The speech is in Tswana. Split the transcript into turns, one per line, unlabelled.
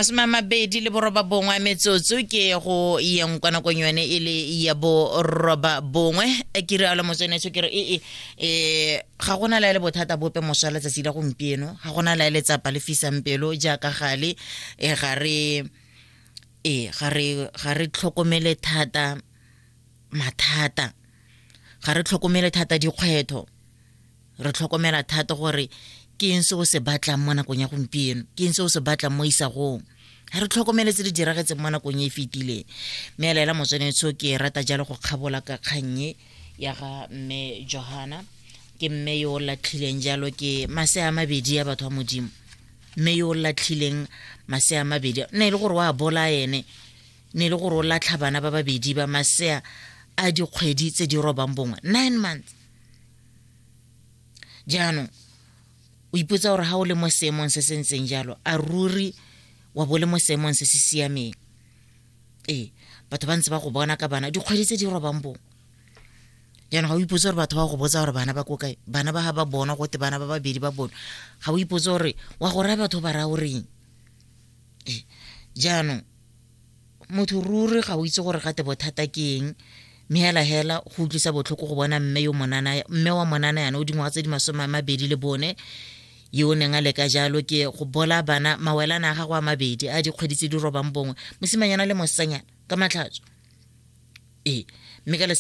29 metsotso ke go yeng kwa nakong yone e le ya boroba bongwe. Ke rialo motsweneso, ke re ee, ga gona la e le bothata bope moswa letsatsi la gompieno, ga gona la e letsapa le fisang pelo jaaka gale. Ga re ga re tlhokomele thata mathata, ga re tlhokomele thata dikgwetlho, re tlhokomela thata gore ke eng se o se batlang mo nakong ya gompieno, ke eng se o se batlang mo isagong. Ga re tlhokomele tse di diragetseng mo nakong e e fetileng. Mme a laela motswanetsho, ke rata jalo go kgabola ka kgannye ya ga mme Johana, ke mme yo o latlhileng jalo ke masea a mabedi a batho ba Modimo, mme yo o latlhileng masea a mabedi, ne e le gore o a bola ene, ne e le gore o latlha bana ba babedi ba masea a dikgwedi tse di robang bongwe, 9 months. Jaanong o ipotsa gore ga o le mo seemong se se ntseng jalo, a ruri wa bo le mo seemong se se siameng? Ee, batho ba ntse ba go bona ka bana dikgwedi tse di robang bongwe. Jaanong ga o ipotse gore batho ba go botsa gore bana ba ko kae, bana ba ga ba bonwa, gote bana ba babedi ba bonwa, ga o ipotse gore wa go raya batho ba raya o reng? Ee, jaanong motho ruri ga o itse gore gate bothata ke eng. Mme hela hela go utlwisa botlhoko go bona mme yo monana, mme wa monana yana o dingwaga tse di 24, yo o neng a leka jalo ke go bola bana mawelana a gago a mabedi a dikgwedi tse di robang bongwe, mosimanyana le mosetsanyana, ka matlhatso. Ee, mme ka lesego